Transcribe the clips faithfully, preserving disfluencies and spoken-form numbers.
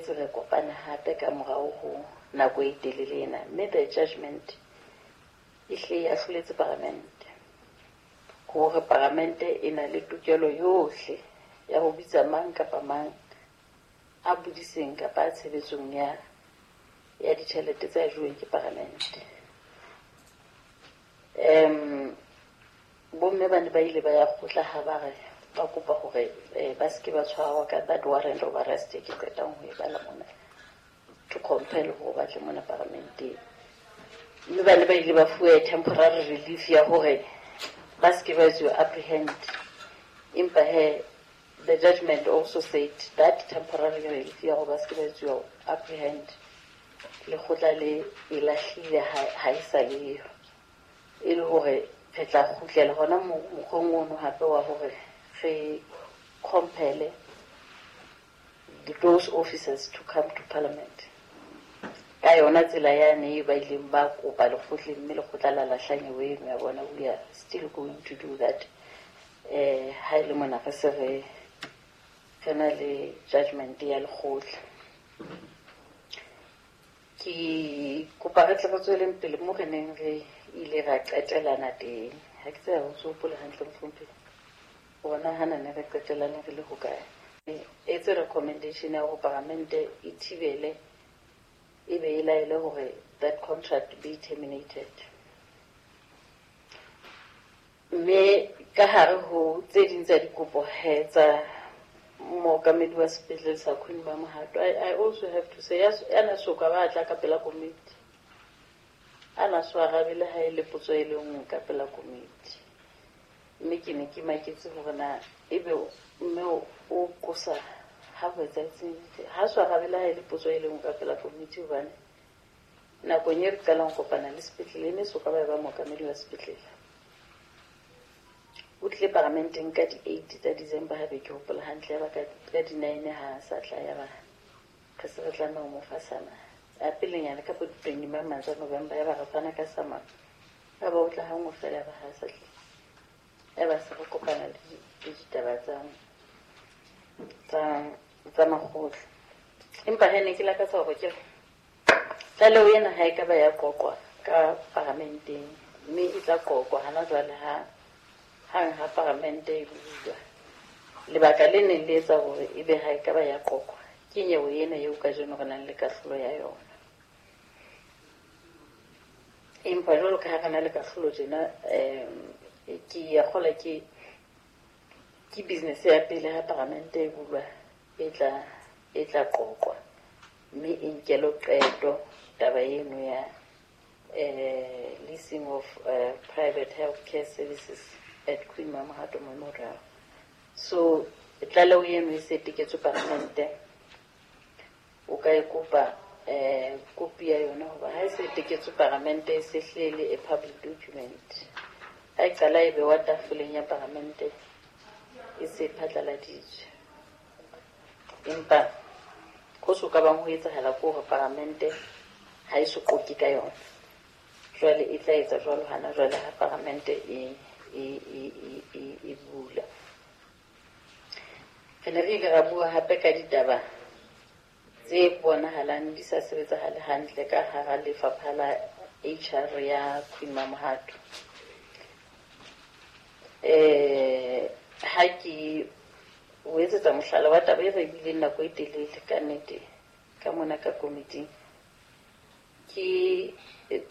boetse re kopane hape ka morao ho nako e telele ena, mme the judgment e hle e ahloletse paramente hore paramente e na le tokelo yohle ya ho bitsa mang kapa mang a bodiseng kapa a tshebetsong ya ya ditjhelete tse ajuweng ke paramente. Um bomme ba ne ba ile ba ya kgotla ha ba re ba kopa hore ba se ke ba tshwarwa ka that warrant of arrest e ke qetang ho e bala mona, to compel hore ba tle mona paramenteng. Mme ba ne ba ile ba fuwe temporary relief ya hore ba se ke ba etsuwa apprehend. Empa he, the judgment also said that temporary relief ya hore ba se ke ba etsuwa apprehend lekgotla le e lahlile ha e sa leyo, e le hore re tla kgutlela hona mokgweng ono hape wa hore re compel those officers to come to parliament. Ka yona tsela yane e ba ileng ba kopa lekgotleng, mme lekgotla la lahla nyewe eno ya bona. We are still going to do that. Eh ha e le mona re se re re na le judgment ya lekgotla. Ke kopa re tle re tsweleng pele mo re neng re ile ra qetelana teng. Ha ke tsebe ho se hopole hantle mohlomphehi hore na hana ne re qetelane re le hokae. Etse recommendation ya hore paramente e thibele e be e laele hore that contract be terminated. Mme ka hare ho tse ding tsa dikopo he tsa mookamedi wa sepetlele sa Queen Mamohato, I, I also have to say, ya na soka ba tla ka pela komiti, a na so arabe le ha e le potso e le nngwe ka pela komiti. Mme ke ne ke maketse hore na ebe mme o qosa ha ho etsahetseng, ha so arabe le ha e le potso e le nngwe ka pela komiti, hobane nakong e re qalang ho kopana le sepetlele e ne soka ba eba mookamedi wa sepetlele. O tlile paramenteng ka di-eight tsa December, ha be ke hopola hantle, ya ba ka di-nine ha sa tla, ya ba re se re tlameha ho mo fa sama. A pelenyana ka bo di-twenty-one tsa November, ya ba re fana ka sama, ya ba o tla hanngwe feela, ya ba ha sa tlile. Ya ba se re kopana le ditaba tsa tsa tsa makgotla. Empa he ne ke lakatsa hore ke tlaleho ena ha e ka ba ya qoqwa ka paramenteng, mme e tla qoqwa hana jwale ha hang ha paramente e bulwa. Lebaka le neng le etsa hore ebe ha e ka ba ya qoqwa ke nyewe ena eo kajeno re nang le kahlolo ya yona. Empa jwalo ka ha re na le kahlolo tjena, um ke ya kgola ke ke business ya pele ha paramente e bulwa e tla e tla qoqwa, mme e nkelwe qeto taba eno ya eh leasing of uh, private healthcare services at Queen Mamohato Memorial. So tlaleho eno e se teketswe paramente, o ka e kopa eh kopi ya yona, hoba ha e se teketswe paramente e se hlele a public document. Ha e qala e bewa tafoleng ya paramente e se phatlaladitswe. Empa ho so ka bang ho etsahala ke hore paramente ha e so qoqe ka yona. Jwale e tla etsa jwalo hana jwale ha paramente e e e e e bula. Re ne re ile ra bua hape ka ditaba tse bonahalang di sa sebetsahale hantle ka hara lefapha la H R ya Queen Mamohato. Eh ha ke o etsetsa mohlala wa taba e re bileng nako e telele ka nnete ka mona ka komiting, ke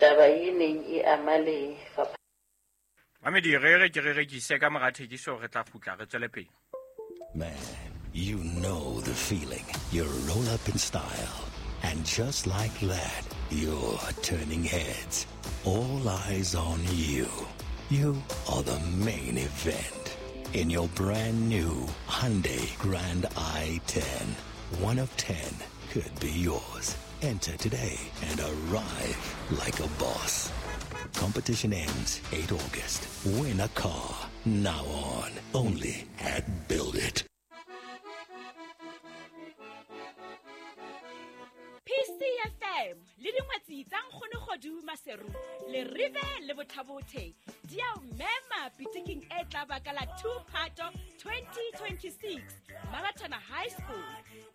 taba e neng e ama lefapha. Mamedi, re re ke re rekise ka mora thekiso, re tla kgutla re tswele pele. Man, you know the feeling. You roll up in style, and just like that, you're turning heads. All eyes on you. You are the main event. In your brand new Hyundai Grand i ten. One of ten could be yours. Enter today and arrive like a boss. Competition ends eighth August. Win a car. Now on. Only at Build It. P C F M le dingwetsi tsa Nkgono Kgodu Maseru le Rive le Bothabothe di a o mema pitiking e tla baka la two Phato twenty twenty-six Mabatana High School.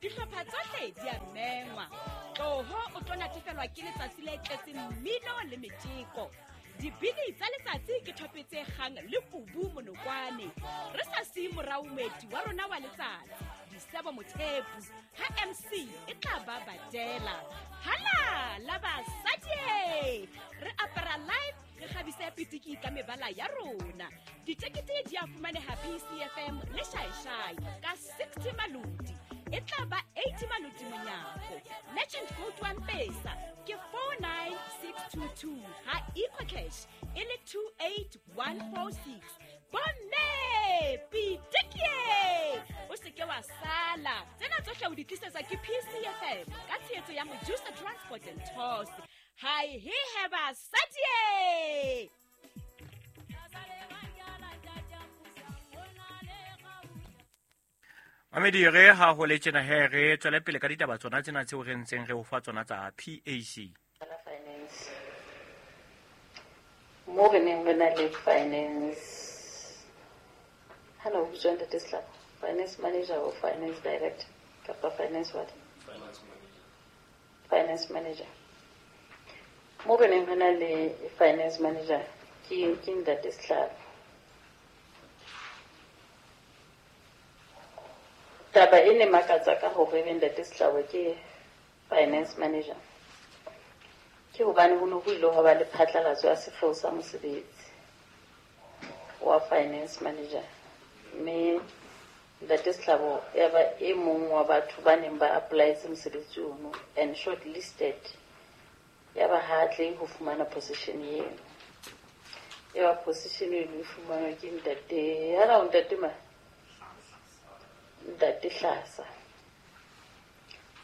Dihlopha tsohle di a mema. hlongwa. Tloho o tlo natefelwa ke letsatsi le tletseng mmino le metjeko. Dibini tsa letsatsi ke thope tse kgang le kubu monokwane. Re sa siye morao moeti wa rona wa letsatsi, Disebo Mothepu, ha M C e tla ba badela. Hala la basadi! Re apara live, re kgabise pitiki ka mebala ya rona. Ditekete di a fumaneha P C F M le Shaishai ka sixty maloti. E tla ba eighty maloti monyako. Merchant code wa M-Pesa ke four nine six two two, ha EcoCash e le two eight one four six. Bomme pitiki! O se ke wa sala. Tsena tsohle o di tlisetsa ke P C F M ka tshehetso ya Mojusa Transport and Tours. Hai he he basadi! Mamedi re ha ho le tjena he re tswele pele ka ditaba tsona tsena tseo re ntseng re o fa tsona tsa P A C. Finance. Mo re neng re na le finance. Hana o bitswa ntate Sehlabo? Finance manager or finance director? Kapa finance what? Finance manager. Finance manager. Mo re neng re na le finance manager ke ke ntate Sehlabo. Taba e ne makatsa ka hore ebe ntate Sehlabo ke finance manager. Ke hobane ho ne ho ile hwa ba le phatlalatso ya sekgeo sa mosebetsi wa finance manager. Mme ntate Sehlabo ya ba e mong wa batho ba neng ba apply-etse mosebetsi ono and shortlisted. Ya ba ha tle ho fumana position eo. Ya ba position eno e fumanwa ke ntate, hana o ntate ma? Ntate Hlasa.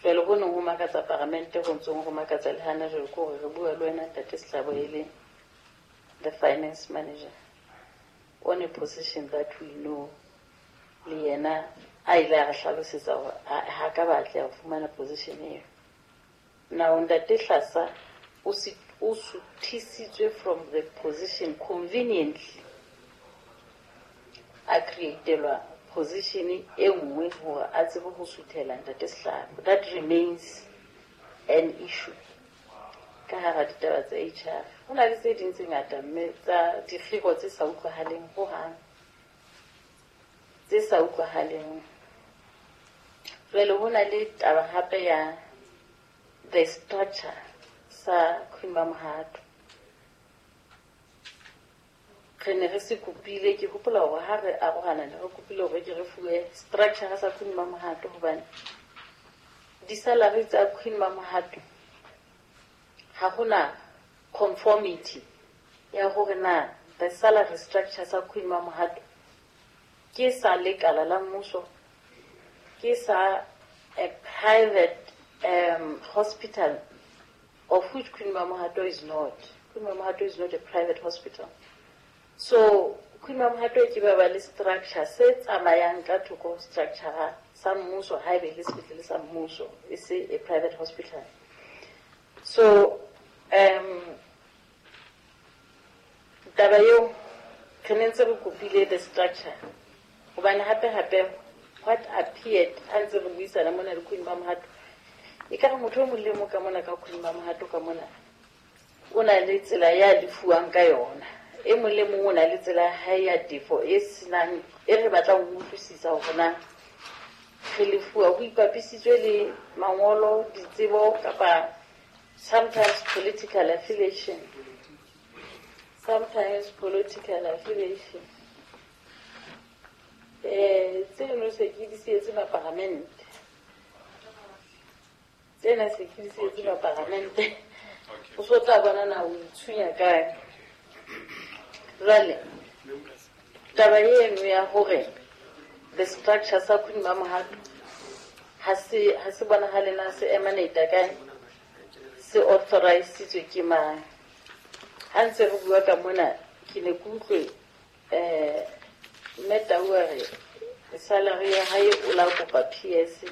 Jwale ho neng ho makatsa paramente, ho ntsong ho makatsa le hana jwale ke hore re bua le wena ntate Sehlabo e le the finance manager on a position that we know le yena a ile a re hlalosetsa hore ha ka batla ho fumana position eo. Now ntate Hlasa o o suthisitswe from the position conveniently, a createlwa position e nngwe hore a tsebe ho suthela ntate Sehlabo. That remains an issue ka hara ditaba tsa H R. Ho na le tse ding tse ngata mme tsa dikgiro tse sa utlwahaleng hohang, tse sa utlwahaleng. Jwale ho na le taba hape ya the structure sa Queen Mamohato. Re ne re se kopile, ke hopola hore ha re arohana ne re kopile hore ke re fuwe structure sa Queen Mamohato, hobane di-salary tsa Queen Mamohato ha hona conformity ya hore na the salary structure sa Queen Mamohato ke sa lekala la mmuso, ke sa a private um, hospital, of which Queen Mamohato is not. Queen Mamohato is not a private hospital. So Queen Mamohato ke ba ba le structure se tsamayang ka thoko structure sa mmuso, ha ebe le sepetlele sa mmuso, e se a private hospital. So um taba eo re ne ntse re kopile the structure, hobane hape hape what appeared ha ntse re buisana mona le Queen Mamohato, e ka re motho o mong le mong ka mona ka Queen Mamohato ka mona o na le tsela ya lefuwang ka yona. E mong le mong o na le tsela ya hae ya tefo e senang, e re batlang ho utlwisisa hore na re lefuwa ho ipapisitswe le mangolo, ditsebo kapa sometimes political affiliation. Sometimes political affiliation. Eh, tseno se ke di sietse maparamente. Tsena se ke di sietse maparamente. O so tla bona na o itshunya kae. Jwale taba eno ya hore the structure sa Queen Mamohato ha se ha se bonahale na se emanate kae, se authorizitswe ke mang. Ha ntse re bua ka mona ke ne ke utlwe eh mme Tau a re salary ya hae o la kopa P S,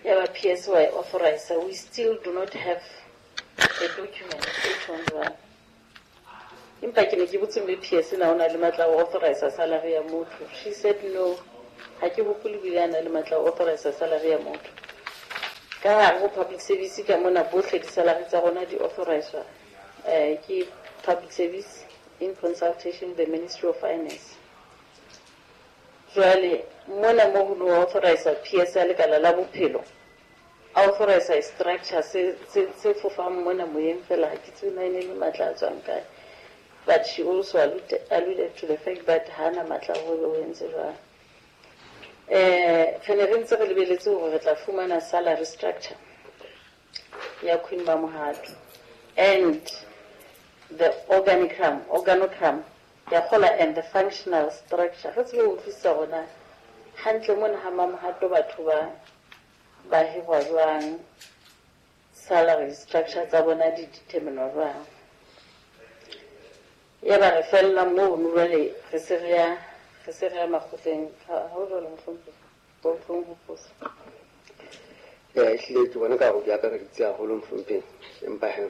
ya ba P S wa e authorize. We still do not have a document e tjhong jwalo. Empa ke ne ke botse mme P S na o na le matla a ho authorize salary ya motho. She said no, ha ke hopole bile a na le matla a ho authorize salary ya motho. Ka hare ho public service ka mona bohle di-salary tsa rona di authorizwa eh ke public service in consultation with the Ministry of Finance. Jwale mona mo ho no authorize P S ya lekala la bophelo, authorize structure se se se fofang mona moyeng fela, ha ke tsebe na e ne le matla a tswang kae. But she also alluded, alluded to the fact that hana matla hore o entse jwang. Eh re ne re ntse re lebeletse hore re tla fumana salary structure ya Queen Mamohato and the organigram, organogram ya kgola and the functional structure. Re tsebe ho utlwisisa hore hantle mona ha Mamohato batho ba ba hirwa jwang, salary structure tsa bona di determinwa jwang. Ya ba re fella mono jwale re se re ya re se re ya makgotleng. Ha ho jwalo mohlomphehi, bo tlong ho fosa. Eh ehlile ke bona ka hore di akareditse haholo mohlomphehi, empa he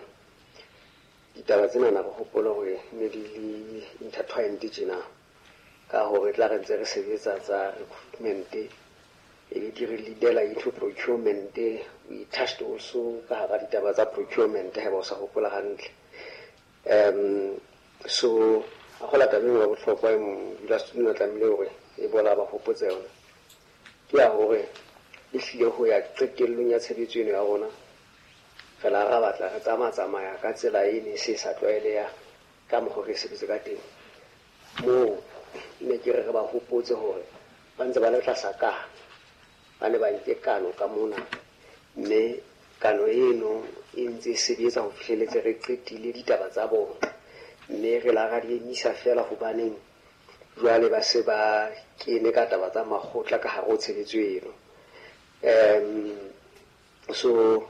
ditaba tsena na re hopola hore ne di le intertwined tjena ka hore tla re ntse re sebetsa tsa recruitment e be di re leadela into procurement. We touched also ka hara ditaba tsa procurement ha ba o sa hopola hantle. Um so a gola taba e bohlokwa e modulasetulo o tlamehile hore e bola ba hopotse yona ke ya hore e hlile ho ya qetellong ya tshebetso eno ya rona re la ra batla re tsamaya tsamaya ka tsela e ne se sa tlwaeleha ka mokgwa re sebetse ka teng. Moo ne ke re re ba hopotse hore ba ntse ba le tlasa kano, ba ne ba nke kano ka mona, mme kano eno e ntse e sebetsa ho fihleletse re qetile ditaba tsa bona, mme re la ra di emisa fela hobaneng jwale ba se ba kene ka taba tsa makgotla ka hare ho tshebetso eno. Um so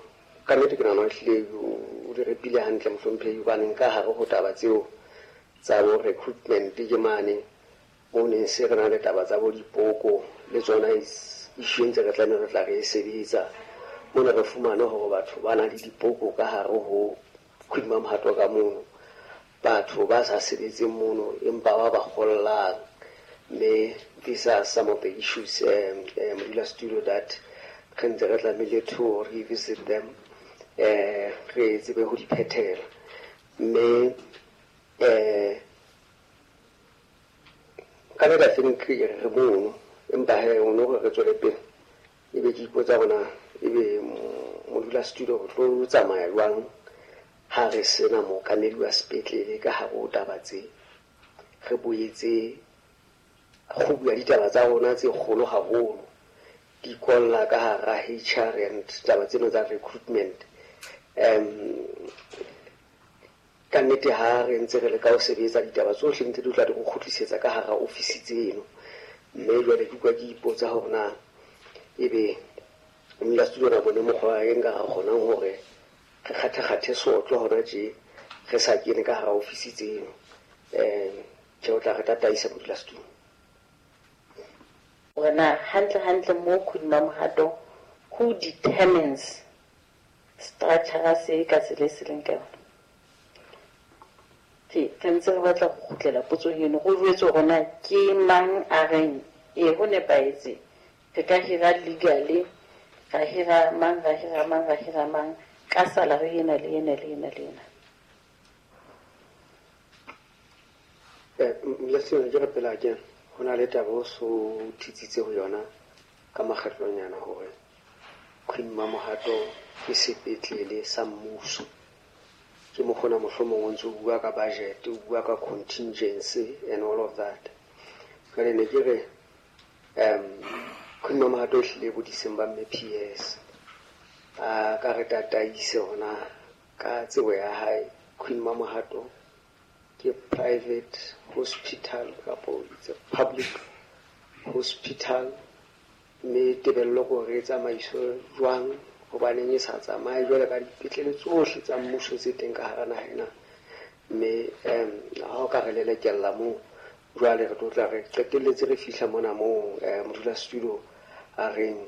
ka nnete ke nahana ehlile o di repile hantle mohlomphehi, hobaneng ka hare ho taba tseo tsa bo recruitment ke mane mo neng se re na le taba tsa bo dipoko le tsona issue ntse re tlameha re tla re e sebetsa. Mona re fumane hore batho ba na le dipoko ka hare ho Queen Mamohato ka mono, batho ba sa sebetseng mono empa ba ba kgollang, mme these are some of the issues um, um, modulasetulo that re ntse re tlamehile to revisit them, eh re tsebe ho di phethela. Mme eh ka nnete I think re mono, empa he ono hore re tswele pele ebe ke ipotsa hore ebe modulasetulo re tlo tsamaya jwang ha re sena mookamedi wa sepetlele ka hare ho taba tse. Re boetse kgubu ya ditaba tsa rona tse kgolo haholo di kolla ka hara H R and taba tseno tsa recruitment. Um ka nnete ha re ntse re leka ho sebetsa ditaba tsohle ntse di tla di go kgutlisetsa ka hara ofisi tseno, mme jwale ke utlwa ke ipotsa hore na ebe modulasetulo na bone mokgwa e nka ra kgonang hore re kgathe-kgathe sotlo hona tje re sa kene ka hara ofisi tseno. Um tjhe, o tla re tataisa modulasetulo. Hore na hantle hantle mo Queen Mamohato who determines structure se ka tsela e se leng ka yona. Ke re ntse re batla ho kgutlela potsong eno, go jwetse hore na ke mang a reng ee ho nepahetse re ka hira legally, ra hira mang, ra hira mang, ra hira mang ka salary ena le ena le ena le ena. Eh modulasetulo ke re pela ke ho na le taba o so thitsitse ho yona ka makgetlonyana hore Queen Mamohato ke sepetlele sa mmuso. Ke mokgona mohlomong o ntse o bua ka budget, o bua ka contingency and all of that. Jwale ne ke re um Queen Mamohato ehlile bodiseng ba mme P S a ka re tataise hona ka tsebo ya hae. Queen Mamohato ke private hospital kapo it's a public hospital, mme tebello ke hore e tsamaiswe jwang hobaneng e sa tsamaye jwale ka dipetlele tsohle tsa mmuso tse teng ka hara naha ena. Mme um ha o ka re lelekella moo jwale re tlo tla re qetelletse re fihla mona moo modulasetulo a reng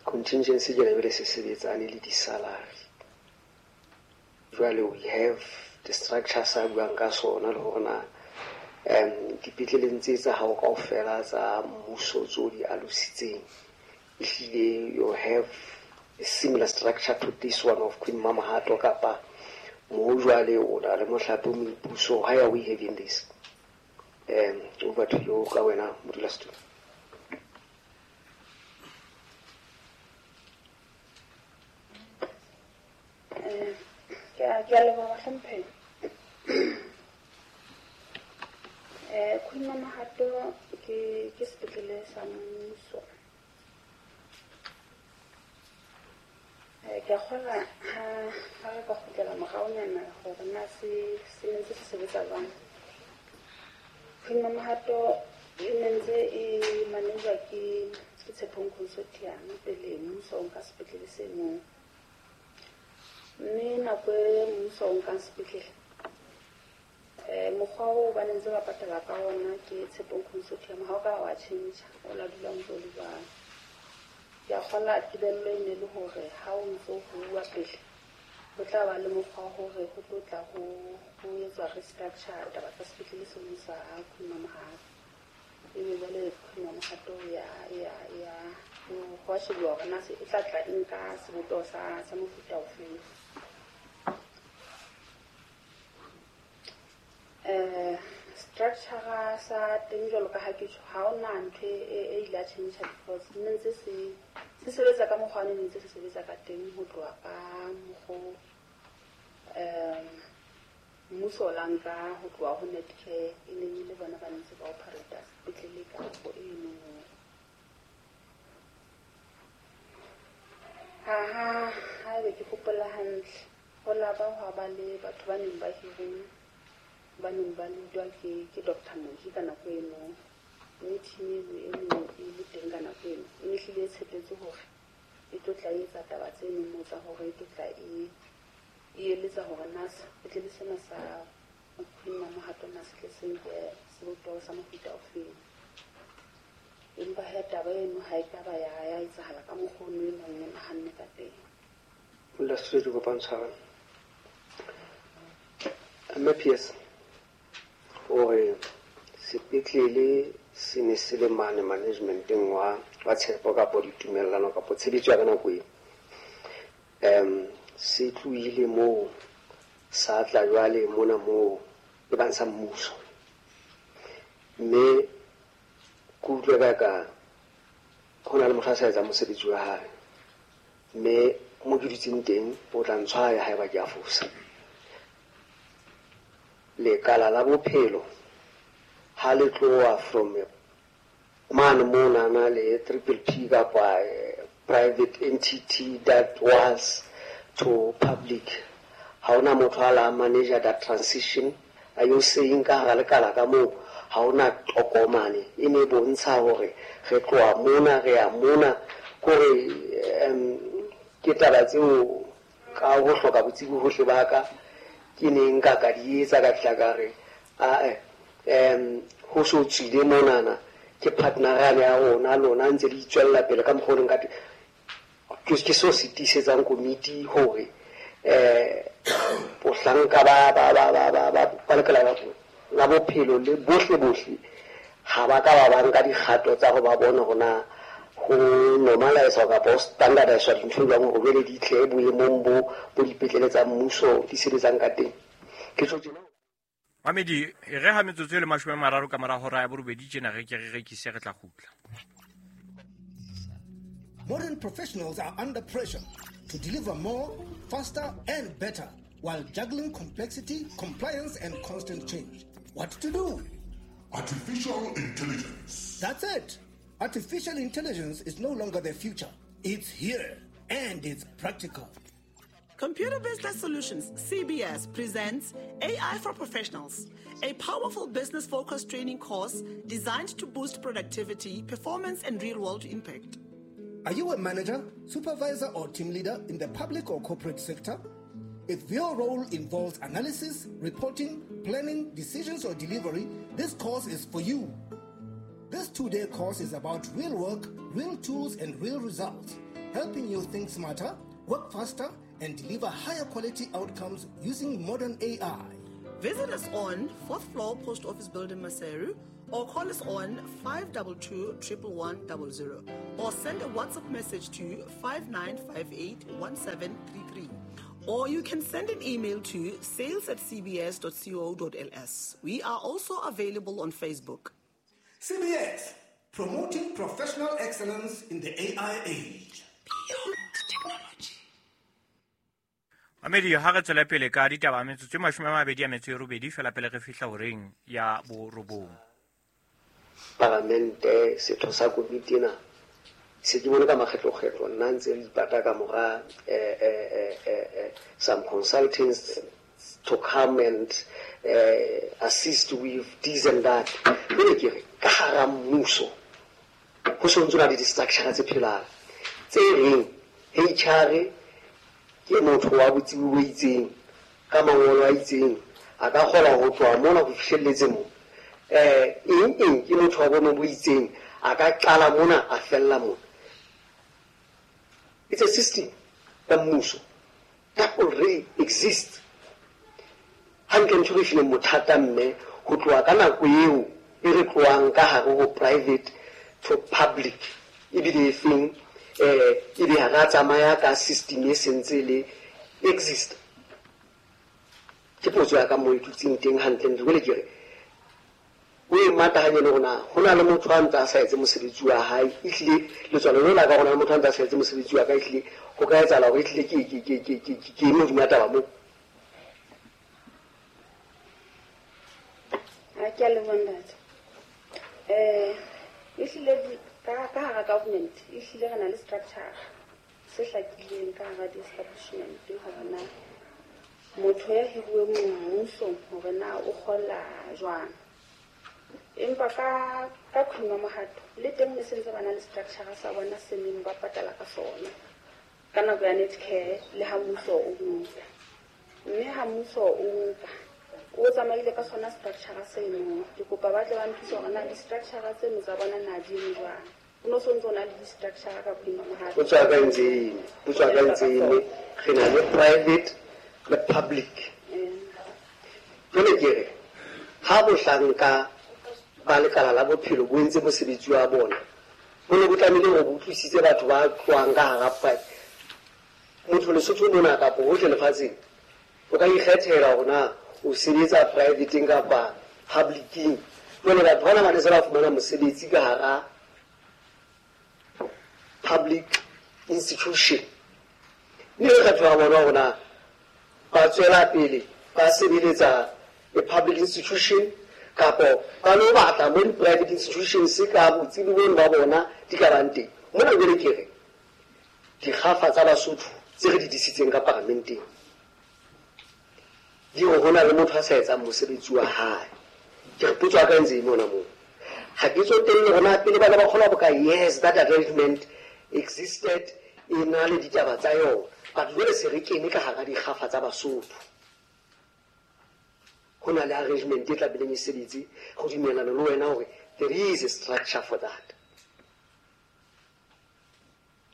contingency jwale be le se sebetsane le di-salary. Jwale we have the structure sa buang ka sona le hore na um dipetleleng tse tsa hao kaofela tsa mmuso tseo di alositseng ehlile you have a similar structure to this one of Queen Mamohato kapa mo jwale o na le mohlape o moipuso? Why are we having this? Um, over to you ka wena modulasetulo. Eh, ke a ke a leboha bahlomphehi. Eh, Queen Mamohato ke ke sepetlele sa mmuso. Eh, ke a kgolwa ha ha re ka kgutlela moraonyana hore na se se ne ntse se sebetsa jwang. Queen Mamohato e ne ntse e manejwa ke ke Tshepong Consortium pele mmuso o nka sepetlele seno. Mme nako e mmuso o nkang sepetlele, eh, mokgwa oo ba ne ntse ba patala ka ona ke Tshepong Consortium ha o ka wa tjhentjha, o la dula o ntso o le jwalo. Ke a kgolwa tebello e ne le hore ha o ntso ho bua pele, ho tla ba le mokgwa wa hore ho tlo tla ho, ho etswa restructure taba tsa sepetlele seno sa Queen Mamohato. Ebe jwale Queen Mamohato ya, ya, ya, ho a shebuwa hore na se e tla tla e nka sebopeho sa, sa mofuta ofeng. Eh, structure sa teng jwalo ka ha ke tjho, ha hona ntho e, e ile ya tjhentjha because ne ntse se, se sebetsa ka mokgwa o ne ntse se sebetsa ka teng ho tloha ka mokgo, um, mmuso o la nka ho tloha ho Netcare e neng e le bona ba ntse ba operate sepetlele ka nako eno. Ha, ha, ha ebe ke hopola hantle, ho la ba hwa ba le batho ba neng ba hiruwe, ba neng ba leadwa ke, ke Doctor Moji ka nako eno. Mme team eno e neng e le teng ka nako eno, e ne hlile e tshepetse hore e tlo tla etsa taba tseno moo tsa hore e tlo tla e, e eletsa hore na sepetlele sena sa Queen Mamohato na se tle se nke sebopeho sa mofuta ofeng. Empa he taba eno ha e ka ba ya, ya etsahala ka mokgwa ono e neng e nahanne ka teng. Modulasetulo, ke kopa ntshwarelo. Mme P S, hore sepetlele se ne se le mane managementeng wa, wa tshepo kapo ditumellano kapo tshebetso ya ka nako eo. Um, se tlohile moo sa tla jwale mona moo e bang sa mmuso. Mme ke utlwe ka ka ho na le motho a sa etsang mosebetsi wa hae. Mme mo ke dutseng teng o tla ntshwaya haeba ke a fosa. Lekala la bophelo ha le tloha from mane monana le triple P kapa private entity that was to public, ha hona motho a la manager that transition. Are you saying ka hara lekala ka moo ha hona tokomane e ne bontsha hore re tloha mona re ya mona? Kore um, ke taba tseo ka ho hloka botsebi hohle ba ka ke neng nka ka di etsa ka fihla ka re, ae, um, ho so tswile monana ke partner ya rona lona ntse le itswella pele ka mokgwa o leng ka teng. Ke, ke seo se tiisetsang komiti hore, eh, bohlanka ba, ba, ba, ba, ba, ba, ba lekala la, la bophelo le bohle bohle ha ba ka ba ba nka dikgato tsa ho ba bona hore na ho normalize kapa ho standardize dintho jwang hore jwale di tle boemong bo, bo dipetlele tsa mmuso di sebetsang ka teng. Ke tjho tjena. Mamedi, e re ha metsotso e le mashome a mararo ka mora hora ya borobedi tjena re ke re rekise re tla kgutla. Modern professionals are under pressure to deliver more, faster, and better while juggling complexity, compliance, and constant change. What to do? Artificial intelligence. That's it. Artificial intelligence is no longer the future. It's here, and it's practical. Computer Business Solutions, C B S, presents A I for Professionals, a powerful business-focused training course designed to boost productivity, performance, and real-world impact. Are you a manager, supervisor, or team leader in the public or corporate sector? If your role involves analysis, reporting, planning, decisions, or delivery, this course is for you. This two-day course is about real work, real tools, and real results, helping you think smarter, work faster, and deliver higher quality outcomes using modern A I. Visit us on fourth floor, Post Office Building, Maseru, or call us on five two two, triple one, double zero or send a WhatsApp message to five nine five eight, one seven three three. Or you can send an email to sales at c b s dot co dot l s. We are also available on Facebook. C B S, promoting professional excellence in the A I age. Beyond technology. Mamedi, ha re tswela pele ka ditaba metsotso e mashome a mabedi a metso e robedi fela pele re fihla horeng ya borobong. Palamente setho sa komiti ena se ke bone ka makgetlokgetlo nna ntse re ipata ka mora eh, eh, eh, eh, some consultants to come and eh, assist with this and that. Jwale ke re ka hara mmuso ho so ntso na le di-structure tse phelang tse reng H R ke motho wa botsebi bo itseng ka mangolo a itseng a ka kgona ho tloha mona ho fihlelletse mo eh eng eng ke motho wa boemo bo itseng a ka qala mona a fella mona. It's a system ya mmuso that already exists. Hantle ntho re fileng bothata mme ho tloha ka nako eo e re tlohang ka hare ho private to public ebile e feng eh ebe ha ra tsamaya ka system e sentse le exist. Ke potso ya ka mo itutseng teng hantle ntho le ke re o e matahanye le rona ho na le motho a ntse a sa etse mosebetsi wa hae ehlile letswalo leo la ka rona le motho a ntse a sa etse mosebetsi wa ka ehlile ho ka etsahala hore ehlile ke ke ke ke ke ke eme hodima taba moo. Ha ke a leboha ntate. Eh ehlile ka ka hara government ehlile re na le structure se hlakileng ka hara di-establishment hore na motho ya hiruweng mmusong hore na o kgola jwang. Empa ka ka Queen Mamohato le teng ne sentse ba na le structure sa bona se neng ba patala ka sona ka nako ya Netcare le ha mmuso o nka. Mme ha mmuso o nka o tsamaile ka sona structure seno. Ke kopa ba tle ba nthuse hore na di-structure tseno tsa bona na di eme jwang. O no sontso o na le di-structure ka Queen Mamohato. Potso ya ka e ntse e eme, potso ya ka e ntse e eme. Re na le private le public. Jwale ke re ha bohlanka ba lekala la bophelo bo entse mosebetsi wa bona bo ne bo tlamehile hore bo utlwisitse batho ba tlohang ka hara private. Motho Lesotho mona kapa hohle lefatsheng o ka ikgethela hore na o sebetsa privateng kapa publicing. Jwale batho bana ba ne se ba fumana mosebetsi ka hara public institution. Mme re kgetho ya bona hore na ba tswela pele ba sebeletsa a public institution kapo ba lo batla mo di-private institutions ka botsebi bono ba bona di ka bang teng. Mona jwale ke re dikgafa tsa Basotho tse re di disitseng ka paramenteng di re ho na le motho a sa etsang mosebetsi wa hae. Ke re potso ya ka e ntse e mona moo. Ha ke tsotelle hore na pele ba ne ba kgolwa boka yes that arrangement existed e na le ditaba tsa yona, but jwale se re kene ka hara dikgafa tsa Basotho. Ho na le arrangement e tlabileng e sebetse go dumellana le wena hore there is a structure for that.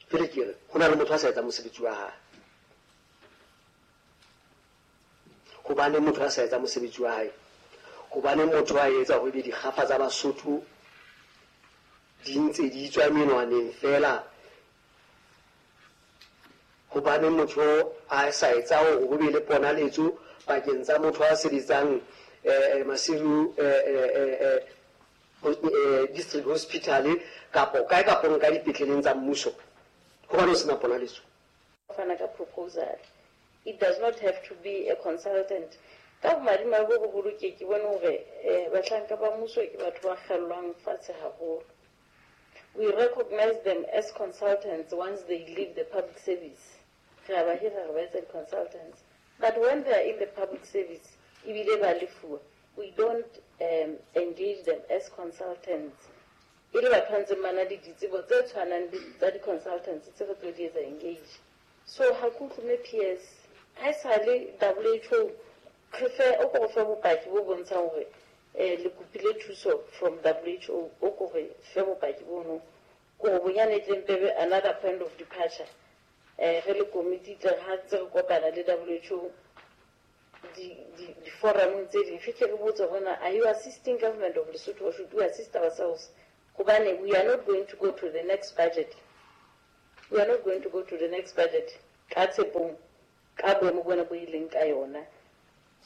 Jwale ke re ho na le motho a sa etsang mosebetsi wa hae. Hobane motho a sa etsang mosebetsi wa hae, hobane motho a etsa hore ebe dikgafa tsa Basotho di ntse di tswa menwaneng fela, hobane motho a sa etsa hore ho be le ponaletso pakeng tsa motho a sebetsang eh Maseru eh eh district hospital kapo kae kapo nka dipetleleng tsa mmuso, hobane o sena ponaletso. Fana ka proposal. It does not have to be a consultant. Ka bomadimabe bo boholo ke ke bone hore eh bahlanka ba mmuso ke batho ba kgellwang fatshe haholo. We recognize them as consultants once they leave the public service. Re a ba hira re ba etsa di-consultants. But when they are in the public service, ebile ba lefuwa, we don't um, engage them as consultants. E le batho ba ntseng ba na le ditsebo tse tshwanang le tsa di-consultants tse re tlo di etsa engage. So ha ke utlwe P S, ha esale W H O re fe o ko re fe bopaki bo bontshang hore eh le kopile thuso from W H O, o ko re fe bopaki bono ko bonyane tle mpebe another point of departure. Eh re le committee tle ha tse re kopana le W H O di-forumong tse ding re ke re botse hore na are you assisting government of Lesotho or should we assist ourselves? Hobane we are not going to go to the next budget. We are not going to go to the next budget ka tshepong ka boemo bona bo ileng ka yona.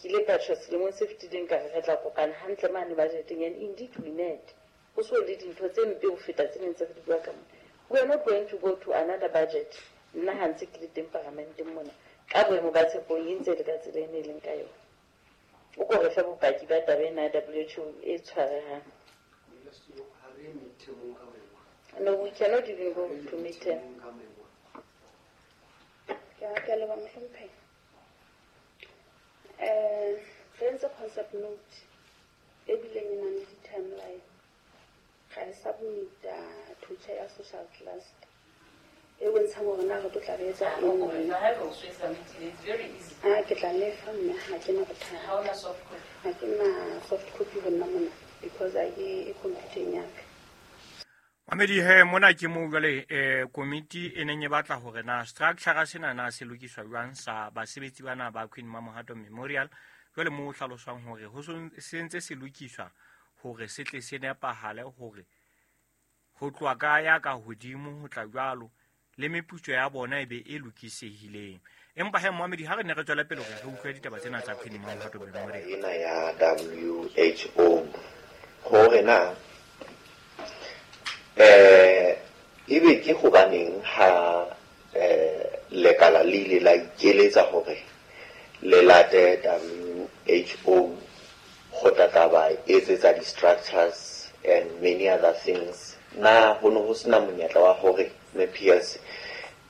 Ke ile ka tjho selemong se fetileng ka re re tla kopana hantle mane budgeteng, and indeed we met. Ho so le dintho tse mpe ho feta tse neng tse re di bua ka mona. We are not going to go to another budget. Nna ha ntse ke le teng paramenteng mona ka boemo ba tshepong e ntse le ka tsela e ne e leng ka yona. O ko re fe bopaki ba taba ena ya W H O e tshwarehang. No, we cannot even go to midterm. Ke a ke a leboha mohlomphehi. Eh, re entse concept note e bileng e nang le di-timeline. Ra e submit-a to chair ya social cluster e bontshang hore na re tlo tla re etsa eng neng. Ah, ke tla lefa mme ha ke na bothata. Ha ke na soft copy ho nna mona because ha ke e computer-eng ya ka. Mamedi he mona ke mo jwale eh komiti e neng e batla hore na structure sena na se lokiswa jwang sa basebetsi bana ba Queen Mamohato Memorial. Jwale mo hlaloswang hore ho se ntse se lokiswa hore se tle se nepahale hore ho tloha ka ya ka hodimo ho tla jwalo le meputso ya bona e be e lokisehileng. Empa he Mohamedi ha re ne re tswela pele hore re utlwe ditaba tsena tsa Queen Mamohato Memorial ena ya W H O hore na eh ebe ke hobaneng ha eh lekala le ile la ikeletsa hore le late W H O ho tla tla ba etsetsa di-structures and many other things. Na ho no ho sena monyetla wa hore M P S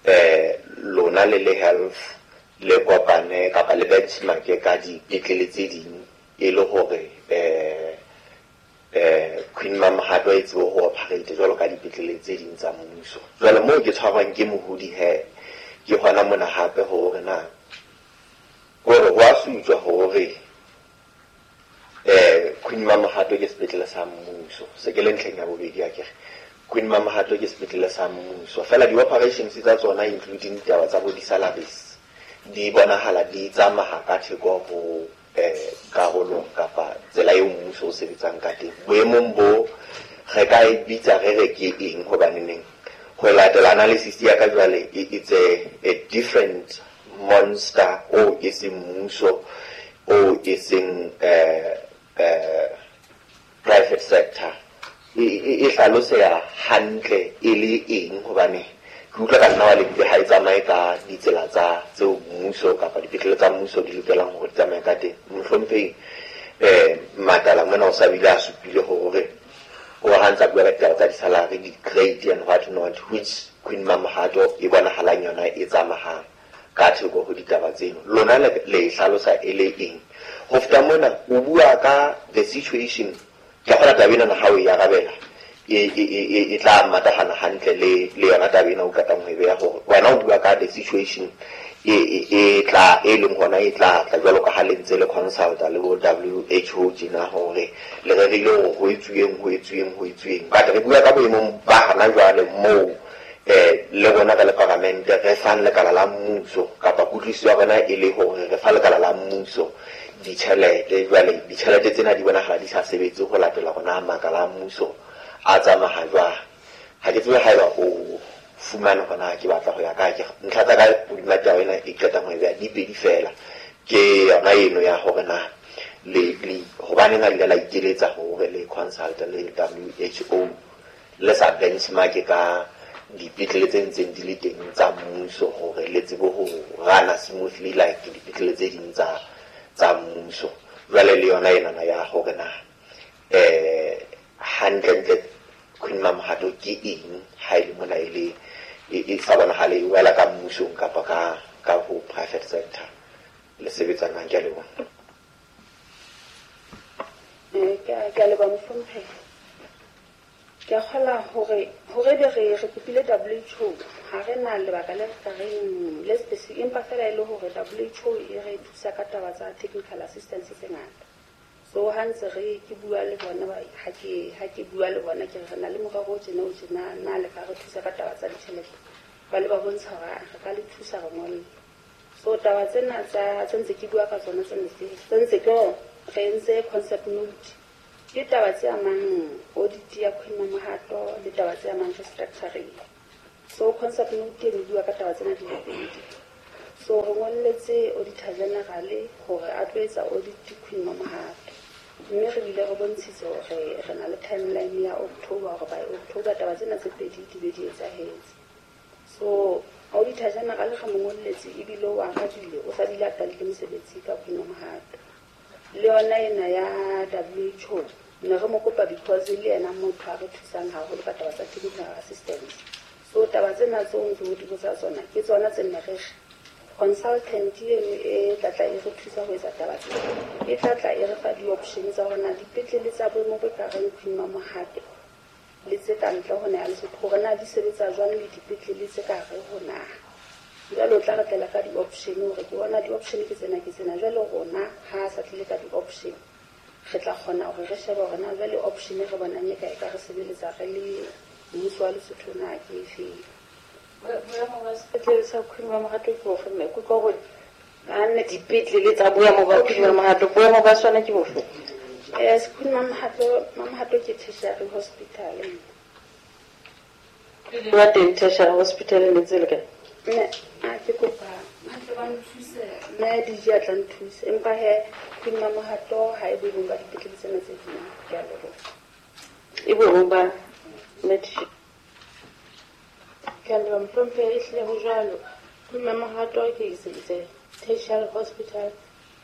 eh lona le le health le kopane kapa le benchmark ka dipetlele tse ding e le hore eh eh Queen Mamohato e tsebe ho operate jwalo ka dipetlele tse ding tsa mmuso. Jwale moo ke tshwarwang ke mohodi he ke hona mona hape hore na hore ho a sutswa hore eh Queen Mamohato ke sepetlele sa mmuso. Se ke le ntlheng ya bobedi ya kere Queen Mamohato ke sepetlele sa mmuso. Fela di-operations tsa tsona including ditaba tsa bo di-salaries di bonahala di tsamaya ka theko ho eh karolong kapa tsela eo mmuso o sebetsang ka teng. Boemong bo re ka e bitsa re re ke eng hobaneneng ho latela analysis ya ka jwale it's a, a different monster o e seng mmuso o e seng eh eh private sector e hlaloseha hantle e le eng hobane ke utlwa ka nna wa lebile ha e tsamaye ka ditsela tsa tseo mmuso kapa dipetlele tsa mmuso di lokelang hore di tsamaye ka teng. Mohlomphehi eh Matala mona o sa bile a supile hore o ha ntsa bua ka ditaba tsa di-salary, di-grade and what not, which Queen Mamohato e bonahalang yona e tsamahang ka theko ho ditaba tseno. Lona le le hlalosa e le eng? Ho feta mona o bua ka the situation ke kgona taba ena ha o e arabela e e e tla matahana hantle le le yona taba ena o qetang ho e beha hore wena o bua ka the situation e e tla e leng hona e tla tla jwalo ka ha le ntse le consulta le bo W H O tjena hore le rerile hore ho etsuweng ho etsuweng ho etsuweng. But re bua ka boemong ba hana jwale moo eh le rona ka le paramente re fang lekala la mmuso kapa kutlwisiso ya rona e le hore re fa lekala la mmuso ditjhelete. Jwale ditjhelete tsena di bonahala di sa sebetse ho latela rona makala a mmuso a tsamaya jwang. Ha ke tsebe haeba o fumane hona ke batla ho ya kae. Ke ntlha tsa ka hodima taba ena e qetang ho e beha di pedi fela. Ke yona eno ya hore na le le hobaneng ha le la ikeletsa hore le consult le W H O le sa benchmark ka dipetlele tse ntseng di le teng tsa mmuso hore le tsebe ho rana smoothly like dipetlele tse ding tsa tsa mmuso. Jwale le yona enana ya hore na eh hantle Queen Mamohato ke eng ha e le mona e le e sa bonahale e wela ka mmusong kapa ka ka ho private sector le sebetsang ke a leboha. Eh ke ke a leboha mohlomphehi. Ke a kgola hore hore be re re kopile W H O ha re na lebaka le re ka reng le specific, empa fela e le hore W H O e re thusa ka taba tsa technical assistance tse ngata. So ha ntse re ke bua le bona ba ha ke ha ke bua le bona ke re na le morero o tjena o tjena na le ka re thusa ka taba tsa ditjhelete. Ba le ba bontsha hore re ka le thusa re ngolle. So taba tsena tsa tse ntse ke bua ka tsona tse ntse ntse ke re entse concept note. Ke taba tse amang audit ya Queen Mamohato le taba tse amang restructuring. So concept note e bua ka taba tsena di le pedi. So re ngolletse auditor general hore a tlo etsa audit Queen Mamohato. Mme re bile re bontshitse hore re na le timeline ya October hore by October taba tsena tse pedi di be di etsahetse. So auditor general re mo ngolletse ebile o arabile o sa bile a qadile mosebetsi ka Queen Mamohato. Le yona ena ya W H O ne re mo kopa because le yena motho a re thusang haholo ka taba tsa technical assistance. So taba tsena tseo ntse o di botsa tsona ke tsona tse nne re consultant eno e tla tla e re thusa ho etsa taba tsena. E tla tla e re fa di-option tsa hore na dipetlele tsa boemo bo ka reng Queen Mamohato le tse ka ntle ho naha Lesotho hore na di sebetsa jwang le dipetlele tse ka hare ho naha. Jwale o tla re tlela ka di-option hore ke bona di-option ke tsena ke tsena. Jwale rona ha a sa tlile ka di-option re tla kgona hore re shebe hore na jwale option e re bonang e ka e ka re sebeletsa re le mmuso wa Lesotho na ke efeng. Boemo ba sepetlele sa Queen Mamohato ke bofe mme? Ke utlwa hore ba dipetlele tsa boemo ba Queen Mamohato, boemo ba sona ke bofe? Eh, Queen Mamohato, Mamohato ke tertiary hospital. Pele ba teng tertiary hospital ne tse le kae? Mme a ke kopa ba tle ba nthuse, mme D J a tla nthuse. Empa he Queen Mamohato ha e boemong ba dipetlele tsena tse ding. Ke a leboha. E boemong ba Med- Ke a leboha mohlomphehi, ehlile ho jwalo. Queen Mamohato ke is a tertiary hospital,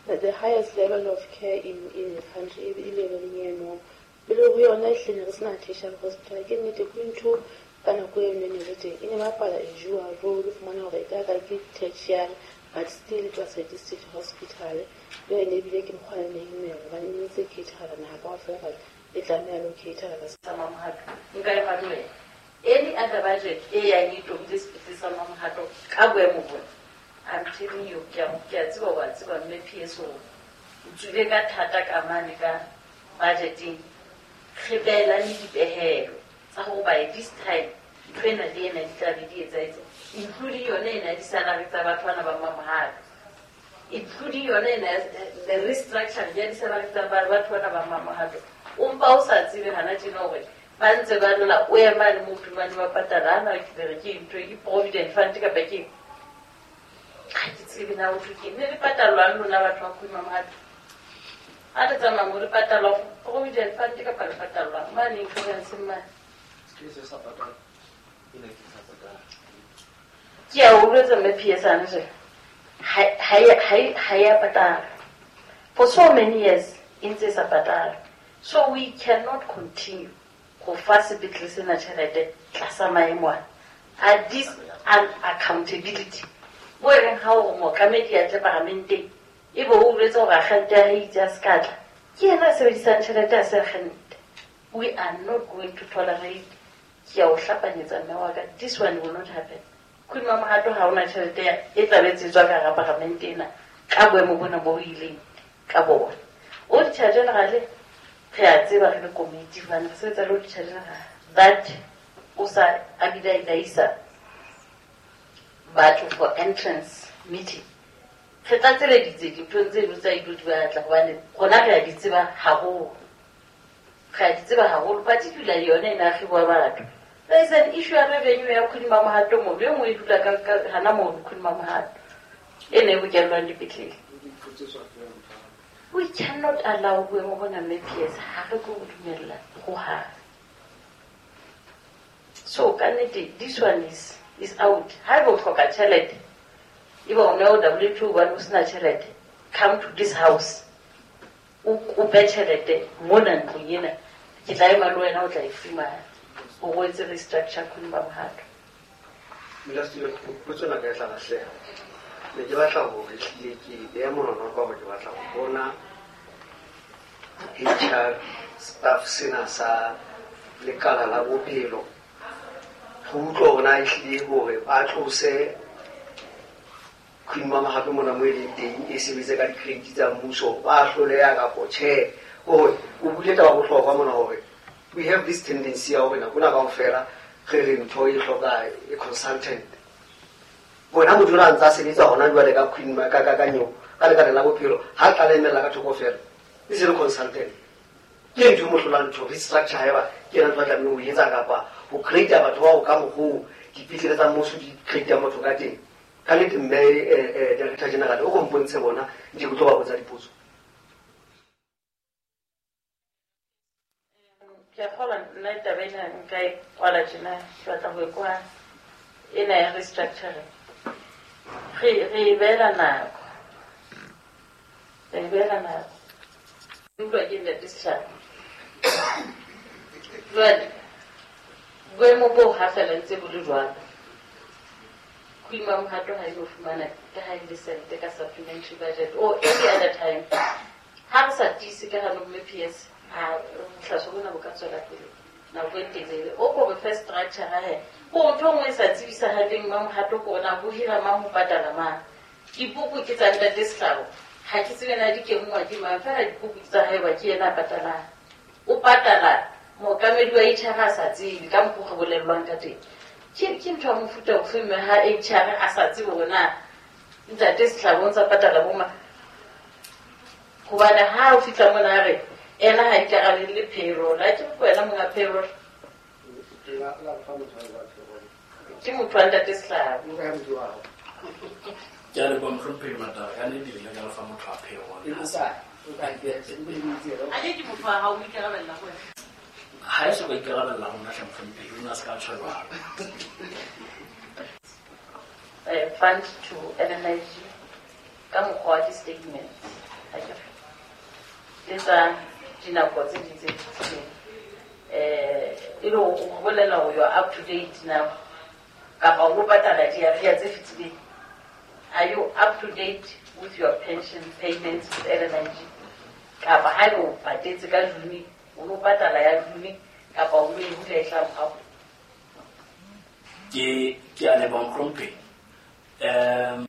the highest level of care in in the country, e leveleng eno. Pele ho yona ehlile re sena tertiary hospital. Ke nnete Queen two ka nako eno e ne le teng, e ne bapala a dual role, o fumana hore e ka ka ke tertiary but still it was a district hospital. Le yone ebile ke mokgwa e neng e hobane e ntse cater-a naha kaofela, but e tlameha le ho cater-a sa Mamohato. Nka e fa le any other budget e yang e tobile sepetlele sa Mamohato ka boemo bona. I'm telling you, ke a ke a tseba wa tseba mme P S O o tswile ka thata ka mane ka budgeting. Re beelane dipehelo tsa hore by this time ntho ena le ena di tla be di etsahetse, including yone ena di-salary tsa batho bana ba Mamohato, including yone ena the restructuring ya di-salary tsa batho bana ba Mamohato. O mpa o sa tsebe hana tjena hore ba ntse ba lla o ema le motho mane ba patala ana ke re ke ntho ke provident fund kapa ke ha ke tsebe na o thwe ke ne le patalwang lona batho ba Queen Mamohato. Ha le tsamaya mo le patalwa provident fund kapa le patalwang mane insurance mane. Ke a utlwetsa mme P S ane je ha ha ya patala for so many years e ntse e sa patala. So we cannot continue go fa sepetlele sena tjhelete tlasa maemo ana a this unaccountability. Bo e reng ha o mookamedi a tle paramenteng e be o boletse hore akgente ya hae itse a se ka tla, ke yena a sebedisang tjhelete a se akgente. We are not going to tolerate. Ke a o hlapanyetsa mme wa ka, this one will not happen. Queen Mamohato ha ona tjhelete e tla be tsetswa ka hara paramente ena ka boemo bona bo ileng ka bona. Auditor General re a tseba re le committee hobane re sebetsa le Auditor General that o sa a bile a ilaisa batho for entrance meeting. Re tlatseleditse dinthong tseno tsa ilo di batla hobane rona re a di tseba haholo. Re a di tseba haholo, particularly yone ena ya kgwebo ya batho. There is an issue ya revenue ya Queen Mamohato mono, e nngwe e dula ka hana mono Queen Mamohato e ne e bokellwang dipetlele. We cannot allow boemo bona mme P S, ha re tlo dumella hohang. So ka nnete this one is is out. Ha eba o hloka tjhelete, ebe o ne o W two hobane o sena tjhelete, come to this house o kope tjhelete mona ntlong ena, ke tla ema le wena o tla e fumana. O o etse restructure Queen Mamohato. Modulasetulo, potso ena ka e tla lahleha. Ne ke batla hore ehlile ke beha monwana ka hore ke batla ho bona H R staff sena sa lekala la bophelo. Ho utlwa hore na ehlile hore ba tlose Queen Mamohato mona mo e leng teng e sebetse ka di-credit tsa mmuso, ba hloleha kapo tjhe. Hore o buile taba bohlokwa mona hore we have this tendency ya hore nako ena kaofela re re ntho e hloka e consultant. Bona motho o ntse a sebetsa hona jwale ka Queen ka ka ka nyo ka lekaleng la bophelo ha tla le emela ka thoko fela e se le consultant. Ke ntho e mo hlolang ntho restructure haeba ke yena ntho a tlamehileng ho etsa kapa ho create batho bao ka mokgoo dipetlele tsa mmuso di create motho ka teng. Ka nnete mme director general o ko mpontshe bona nke ke tlo ba botsa dipotso. Ke a kgolwa nna taba ena nka e kwala tjena, ke batla ho e kwa ena ya restructuring. Re re e beela nako. Re e beela nako. Utlwa ke ntate Setjhaba. Jwale boemo bo ha fela ntse bo le jwalo. Queen Mamohato ha e no fumana ka ha e le sente ka supplementary budget or any other time. Ha re sa tiise ka hano mme P S ha bohlaswa bona bo ka tswela pele nako e telele. O ko re fe structure he. Ko ntho e nngwe e sa tsebisahaleng Mamohato ko na ho hira mang ho patala mang. Dipoko ke tsa ntate Sehlabo. Ha ke tsebe na di kenngwa ke mang, fela dipoko ke tsa hae ba ke yena a patalang. O patala mookamedi wa H R a sa tsebe ka mokgwa o re bolellwang ka teng. Ke ke ntho ya mofuta ofe mme ha H R a sa tsebe hore na ntate Sehlabo o ntsa patala bo mang. Hobane ha o fihla mona a re ena ha ikarabelle payroll, ha ke re wena monga payroll. Ke motho wa ntate Sehlabo. Ke a leboha mohlomphehi Matara, ka nnete le ile ka lefa motho wa payroll. A ke ke motho wa hao o ikarabella ho wena. Ha e so ka ikarabella ho nna hle mohlomphehi, o ne a se ka tjho jwalo. Eh, fund to L N I G ka mokgwa wa di-statements. Le tsa dinako tse ding tse fetileng. Eh, e le ho bolela hore you are up to date now kapa o patala di-arrears tse fetileng. Are you up to date with your pension payments with L N I G? Kapa ha o patetse ka June, o no patala ya June kapa o no e hula e tla morao? Ke ke a leboha mohlomphehi. Um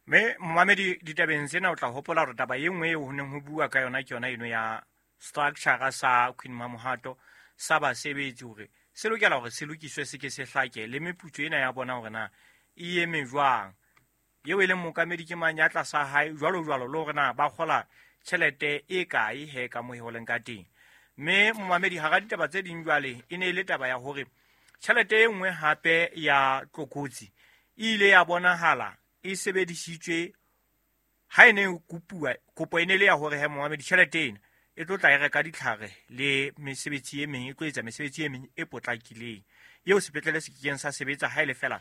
Mme momamedi ditabeng tsena o tla hopola hore taba e nngwe eo ho neng ho bua ka yona ke yona eno ya structure sa Queen Mamohato sa basebetsi hore se lokela hore se lokiswe se ke se hlake le meputso ena ya bona hore na e eme jwang. Eo e leng mookamedi ke mang ya tlasa hae jwalo jwalo le hore na ba kgola tjhelete e kae he ka moo e holeng ka teng. Mme momamedi hara ditaba tse ding jwale e ne e le taba ya hore tjhelete e nngwe hape ya tlokotsi e ile ya bonahala e sebedisitswe ha e ne e kopuwa kopo e ne le ya hore he momamedi tjhelete ena e tlo tla e reka ditlhare le mesebetsi e meng e tlo etsa mesebetsi e meng e potlakileng eo sepetlele se kekeng sa sebetsa ha e le fela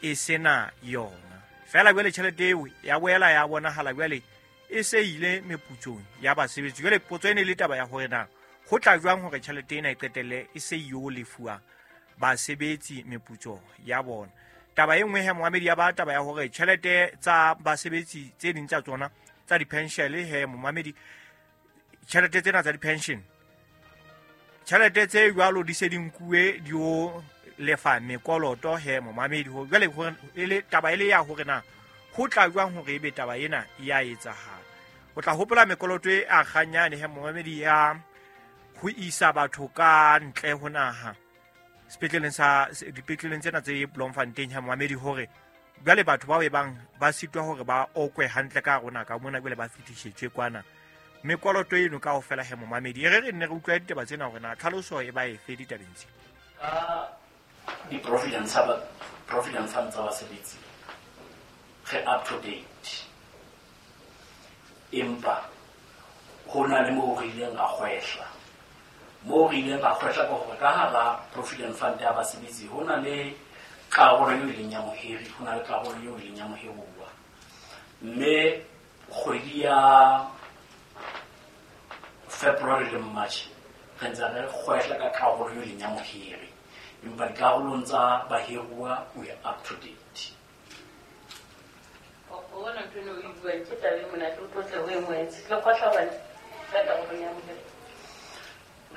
e sena yona. Fela jwale tjhelete eo ya boela ya bonahala jwale e se ile meputsong ya basebetsi. Jwale potso e ne le taba ya hore na ho tla jwang hore tjhelete ena e qetelle e se yo lefuwa basebetsi meputso ya bona. Taba e nngwe he momamedi ya ba taba ya hore tjhelete tsa basebetsi tse ding tsa tsona tsa di-pension he momamedi tjhelete tsena tsa di-pension tjhelete tse jwalo di se di nkuwe di o lefa mekoloto he momamedi. Jwale e le taba e le ya hore na ho tla jwang hore ebe taba ena ya etsahala. O tla hopola mekoloto e akganyane he momamedi ya ho isa batho ka ntle ho naha sepetleleng sa dipetleleng tsena tse Bloemfontein ha momamedi hore jwale batho bao e bang ba sitwa hore ba okwe hantle ka rona ka mona jwale ba fetishetswe kwana mekoloto eno kaofela he momamedi. E re re nne re utlwa ditaba tsena hore na tlhaloso e ba efe ditabeng tse. Ka di-provident provident fund tsa basebetsi re up to date, empa ho na le moo re ileng ra kgwehla. Moo re ileng ra kgwehla ke hore ka hara provident fund ya basebetsi ho na le karolo eo e leng ya mohiri, ho na le karolo eo e leng ya mohiruwa. Mme kgwedi ya February le March re ntse re kgwehla ka karolo eo e leng ya mohiri, empa dikarolong tsa bahiruwa we are up to date. O bona ntho eno o e buang ke taba e monate, o tlotle o e moetse. Le kgwehla hobane ka karolong ya mohiri.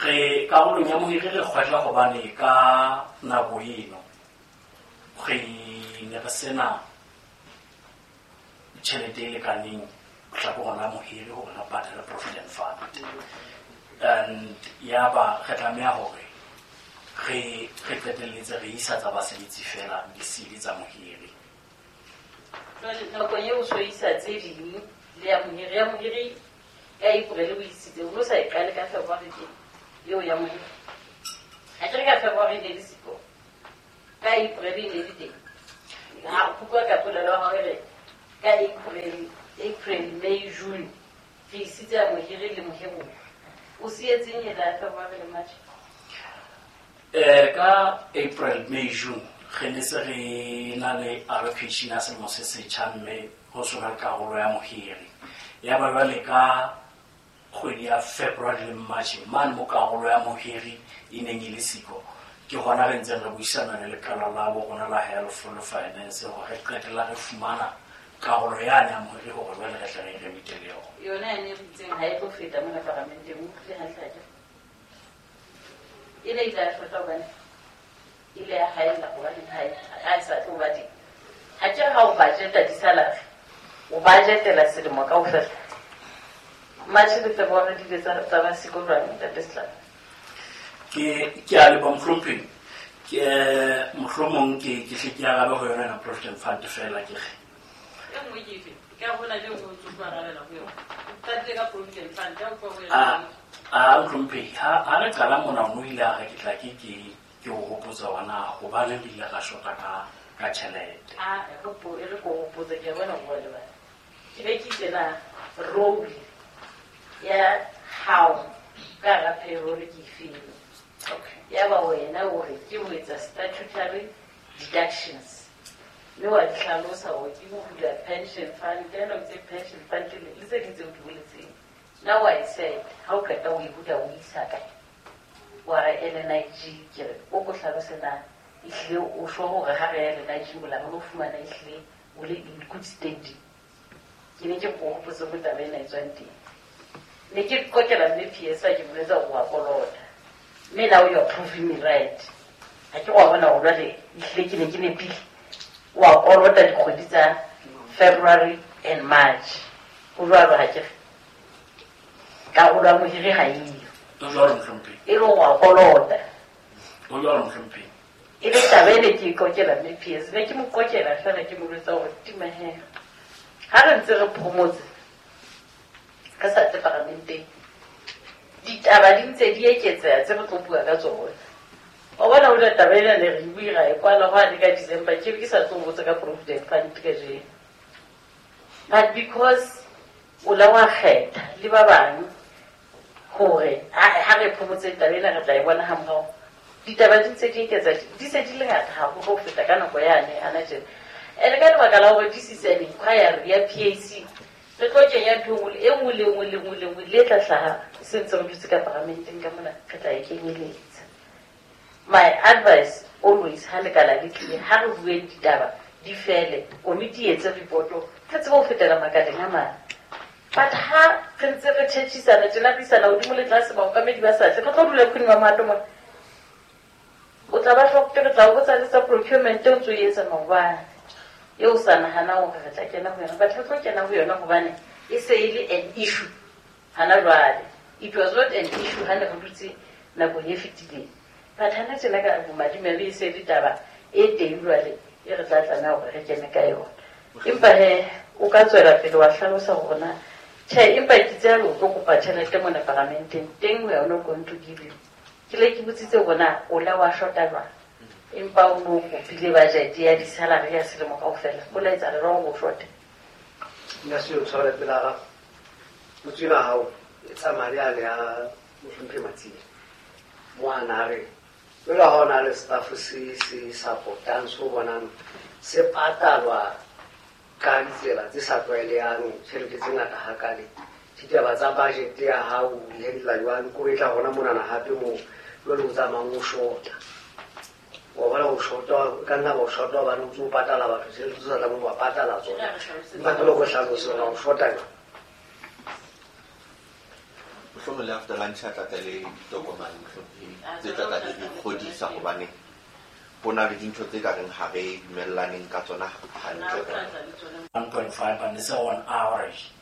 Re karolong ya mohiri re kgwehla hobane ka nako eno re ne re sena tjhelete e lekaneng hlakoreng la mohiri hore re patale provident fund. And yaba re tlameha hore re re qetelletse re isa tsa basebetsi fela di sele tsa mohiri. Jwale nakong eo o so isa tse ding le ya mohiri, ya mohiri ka April o isitse, o no sa e qale ka February teng eo ya mohiri. Ha ke re ka February ne le siko, ka April e ne le teng. Ha o bua ka polelo ya hao e re ka April, April, May, June re isitse ya mohiri le mohiruwa. O sietseng ena ya February le March? Eh, ka April, May, June re ne se re na le allocation ya selemo se setjha, mme ho sona le karolo ya mohiri. Ya ba jwale ka kgwedi ya February le March mane mo karolo ya mohiri e neng e le siko, ke hona re ntseng re buisana le lekala la bo rona la Health le Finance hore re qetella re fumana karolo yane ya mohiri hore jwale re tle re e remite le yona. Yona yane re itseng ha e tlo feta mona paramenteng, o utlwile hantle akere? E ne ile ya shota hobane ile ya haella hobane ha e, ha e sa tlo ba teng. Ha ke re ha o budgeta di-salary, o budgetela selemo kaofela. March le February di ile tsa, tsa ba siko jwang, Ntate Setlaba? Ke, ke a leboha mohlomphehi. Ke, mohlomong ke, ke hle ke arabe ho yona ena Provident Fund fela ke re. E nngwe ke efe? Ke a bona le nngwe o ntso tlo arabela ho yona. O qadile ka Provident Fund, ya utlwa ho yona. A, a, mohlomphehi, ha, ha re qala mona o no ile a re ke tla ke, ke, ke o hopotsa hore na hobaneng re ile ra shota ka, ka tjhelete. A, e re po-, e re ko hopotse, ke a bona hore wa lebala. Ke be ke itse na role ya hao ka hara payroll ke efeng? Okay. Ya ba wena o re ke ho etsa statutory deductions. Mme wa di hlalosa hore ke ho hula pension fund, ke ena o itse pension fund le, le tse ding tseo di boletseng. Now I said, ha o qeta o e hula o isa kae? Wa re L N I G, ke re o ko hlalose na ehlile o sure hore ha re ya L N I G mola re lo fumana ehlile o le in good standing. Ke ne ke ko hopotse mo taba ena e tswang teng. Ne ke kokela mme P S A ke boletse hore wa kolota. Mme now you are proving me right. Ha ke wa bona hore jwale ehlile ke ne ke nepile. Wa kolota dikgwedi tsa February and March. Ho jwalo ha ke re. Karolo ya mohiri ha eyo. Ho jwalo mohlomphehi. E le hore wa kolota. Ho jwalo mohlomphehi. E le taba ene ke e kokela mme P S. Ne ke mo kokela feela ke mo jwetsa hore tima he. Ha re ntse re phomotse re sa tle paramenteng, ditaba di ntse di eketseha tse re tlo bua ka tsona. Wa bona ho le taba ena ne re bue ra e kwala hwane ka December, ke be ke sa tlo botsa ka Provident Fund kajeno. But because o la wa kgetha le ba bang hore ha, ha re phomotse taba ena re tla e bona hamorao, ditaba di ntse di eketsa, di se di le ngata haholo ho feta ka nako yane hana tjena. Ene ka lebaka la hore this is an inquiry ya P A C, re tlo kenya ntho e nngwe le nngwe le nngwe le nngwe le tla hlaha se ntse re dutse ka paramenteng ka mona, re tla e kenyeletsa. My advice always ha lekala le tlile, ha re bueng ditaba di fele, komiti e etse reporto, re tsebe ho fetela makaleng a mang. But ha re ntse re tjhetjhisana tjena, re isana hodimo le tlase, baokamedi ba sa tle, re tlo dula Queen Mamohato mona. O tla ba hloka, re tla o botsa le tsa procurement o ntso e etsa maobane. Eo sa nahana hore re tla kena ho yona, but re tlo kena ho yona hobane e se e le an issue hana jwale. It was not an issue ha ne re dutse nakong e fetileng. But hana tjena ka bomadimabe e se le taba e teng jwale e re tla tlameha hore re kene ka yona. Empa he o ka tswela pele wa hlalosa hore na tjhe, empa ke tseba hore o tlo kopa tjhelete mona paramenteng teng, we are not going to give you. Ke le ke botsitse hore na o la wa shota jwang, empa o no kopile budget ya di-salary ya selemo kaofela, o la etsa le jwang o shote? Nna se o tshwara pela gago, potso ena hao e tsamaya le yane ya mohlomphehi Matsile. Mo a na re, jwale ha o na le staff se se support-ang, se o bonang se patalwa ka ditsela tse sa tlwaelehang, tjhelete tse ngata hakale, ditaba tsa budget ya hao di handle jwang? Ko e tla hona monana hape moo jwale o tsamayang o shota. Wa bona o shota, o ka nna wa shota hobane o ntso o patala batho tjhelete tse sa tlamehang ho ba patala tsona. Empa ke le go hlalose hore o shota jwang. Mohlomong le after lunch a tla tla le ditokomane, mohlomong tse tla tla di re kgodisa hobane ho na le dintho tse ka reng ha re dumellaneng ka tsona hantle. one point five and it's on average.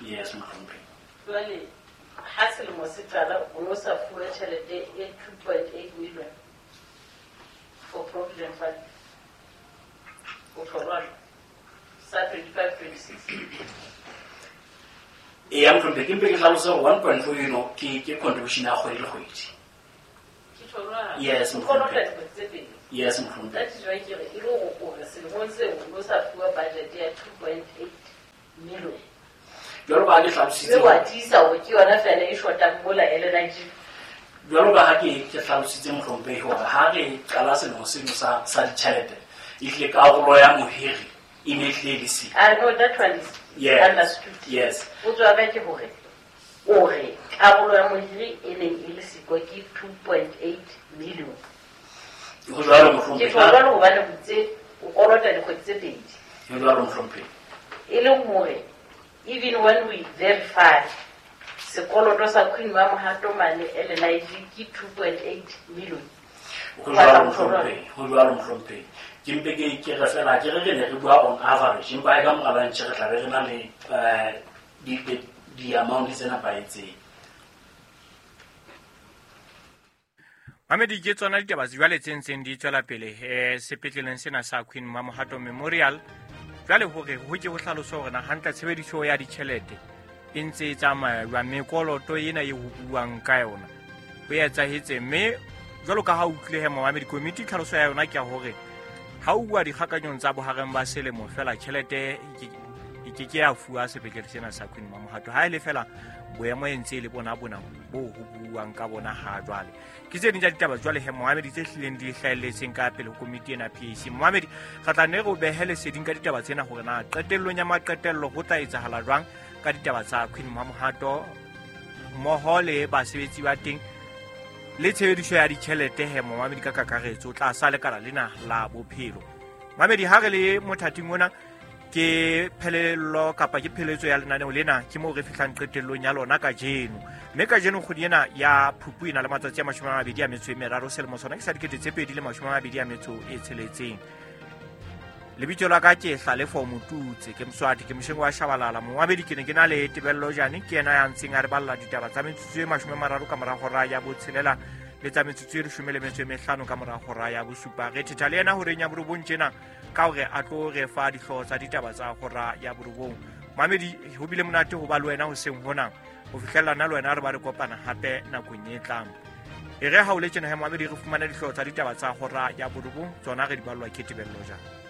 Yes, mohlomphehhi. Jwale ha selemo se qala o no sa fuwe tjhelete e two point eight million for Provident Fund. O tlo jwalo. sa twenty-five twenty-six. E ya mohlomphehi, ke mpe ke hlalose hore one point four eno ke ke contribution ya kgwedi le kgwedi. Ke tjho jwang? Yes, O kolota mohlomphehi. dikgwedi tse pedi. Yes, mohlomphehi. That is why ke re e le hore o re selemong seo o no sa fuwa budget ya two point eight million. Jwalo ka ha ke hlalositse Mme wa tiisa hore ke yona feela e shotang mola L N I G. Jwalo ka ha ke ke hlalositse mohlomphehi hore ha re qala selemo seno sa sa ditjhelete, ehlile karolo ya mohiri e ne ehlile e le siko. I know that one is Yes. understood. Yes. Potso ya ka ke hore o re karolo ya mohiri e neng e le siko ke two point eight million. Ho jwalo Ke mohlomphehi. tjho jwalo hobane o itse o kolota dikgwedi tse pedi. Ho jwalo mohlomphehi. E leng hore even when we verify sekoloto sa Queen Mamohato mane L N I G ke two point eight million. Ho jwalo mohlomphehi, ho jwalo mohlomphehi. Ke mpe ke ke re fela ke re re ne re bua on average, empa e ka mora lunch re tla be re na le, eh, di, di, di amount tse nepahetseng. Mamedi, ke tsona ditaba tse jwale tse ntseng di tswela pele, eh, sepetleleng sena sa Queen Mamohato Memorial. Jwale hore ho ke ho hlaloswa hore na hantle tshebediso ya ditjhelete e ntse e tsamaya jwang, mekoloto ena e ho buuwang ka yona ho etsahetse. Mme jwalo ka ha o utlwile he momamedi, komiti tlhaloso ya yona ke ya hore ha o bua dikgakanyong tsa bohareng ba selemo fela tjhelete e ke, e ke ke ya fuwa sepetlele sena sa Queen Mamohato, ha e le fela boemo e ntse e le bona bona bo ho buuwang ka bona ha jwale. Ke tse ding tsa ditaba jwale he momamedi tse hlileng di hlahelletseng ka pele ho komiti ena P A C. Momamedi, re tla nne re o behe leseding ka ditaba tsena hore na qetellong ya maqetello ho tla etsahala jwang ka ditaba tsa Queen Mamohato mmoho le basebetsi ba teng le tshebediso ya ditjhelete he momamedi ka kakaretso tlasa lekala lena la bophelo. Mamedi, ha re le mothating ona ke phelelo kapa ke pheletso ya lenaneo lena, ke moo re fihlang qetellong ya lona kajeno. Mme kajeno kgwedi ena ya Phupu e na le matsatsi a mashome a mabedi a metso e meraro, selemo sona ke sa dikete tse pedi le mashome a mabedi a metso e tsheletseng. Lebitso la ka ke Hlalefo Motutse, ke Moswati, ke mosheng wa Shabalala. Momamedi, ke ne ke na le Tebello Jane, ke yena ya ntseng a re balla ditaba tsa metsotso e mashome a mararo ka mora hora ya botshelela le tsa metsotso e leshome le metso e mehlano ka mora hora ya bosupa. Re thetha le yena horeng ya borobong tjena ka hore a tlo re fa dihlooho tsa ditaba tsa hora ya borobong. Mamedi, ho bile monate ho ba le wena hoseng hona. Ho fihlella nna le wena re ba re kopana hape nakong e tlang. E re ha o le tjena he momamedi, re fumane dihlooho tsa ditaba tsa hora ya borobong, tsona re di ballwa ke Tebello Jane.